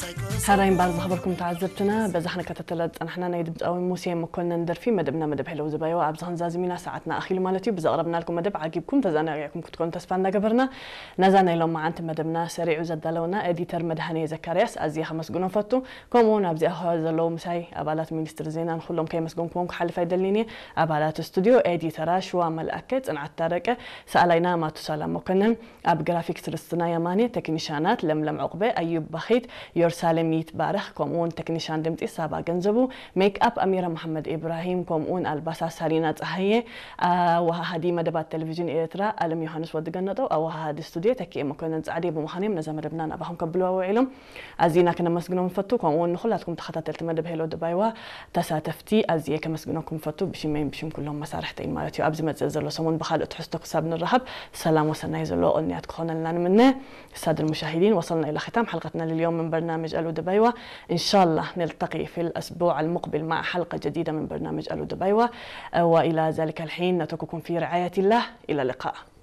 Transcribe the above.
ሕራይ እምበኣር ዝኸበርኩም ተዓዘብትና፣ በዛ ክንከታተላ ዝጸናሕና ናይ ድምጻዊ ሙሴ መኮነን ደርፊ መደብና መደብ ሄለው ዝባይዋ ኣብዚ ክንዛዝም ኢና። ሰዓትና ኣኺሉ ማለት እዩ። ብዘቕረብናልኩም መደብ ዓጊብኩም ተዘናጊዕኩም ክትኮኑ ተስፋ እናገበርና፣ ነዛ ናይ ሎማዓንቲ መደብና ሰሪዑ ዘዳለወና ኤዲተር መድሃኔ ዘካርያስ ኣዝየ ከመስግኖ ፈቱ። ከምኡ እውን ኣብዚኣ ዘለዉ ምሳይ ኣባላት ሚኒስትሪ ዜናን ኩሎም ከየመስገንኩዎም ክሓልፍ ኣይደልን'የ። ኣባላት ስቱድዮ፣ ኤዲተራ ሽዋ መልኣከ፣ ጽንዓት ታረቀ፣ ሰኣላይና ማቱሳላ መኮነን፣ ኣብ ግራፊክስ ርስትና የማኔ፣ ቴክኒሻናት ለምለም ዑቕበ፣ ኣዩብ ባኺት፣ ዮርሳሌም ይትባረኽ፣ ከምኡውን ቴክኒሻን ድምጺ ሳባ ገንዘቡ፣ ሜክኣፕ ኣሚራ መሓመድ ኢብራሂም፣ ከምኡውን ኣልባሳት ሳሪና ጸሃየ፣ ኣወሃሃዲ መደባት ቴሌቪዥን ኤርትራ ኣለም ዮሃንስ ወዲ ገነጠው፣ ኣወሃሃዲ ስቱድዮ ተኪኤ መኮነን ጻዕዴ ብምዃኖም ነዛ መደብና ናባኹም ከብልዋ ውዒሎም። ኣዚና ክነመስግኖም ንፈቱ። ከምኡውን ንኹላትኩም ተኸታተልቲ መደብ ሄሎ ድባይዋ ተሳተፍቲ ኣዝየ ከመስግነኩም ፈቱ፣ ብሽመይን ብሽም ኩሎም መሳርሕተይን ማለት እዩ። ኣብዚ መጽእ ዘሎ ሰሙን ብኻልእ ትሕዝቶ ክሳብ ንራኸብ ሰላም ወሰናይ ዘለዎ ቅንያት ክኾነልና ንምነ። السادة المشاهدين، وصلنا إلى ختام حلقتنا لليوم من برنامج ألو دبيوة. إن شاء الله نلتقي في الأسبوع المقبل مع حلقة جديدة من برنامج ألو دبيوة. وإلى ذلك الحين نترككم في رعاية الله. إلى اللقاء.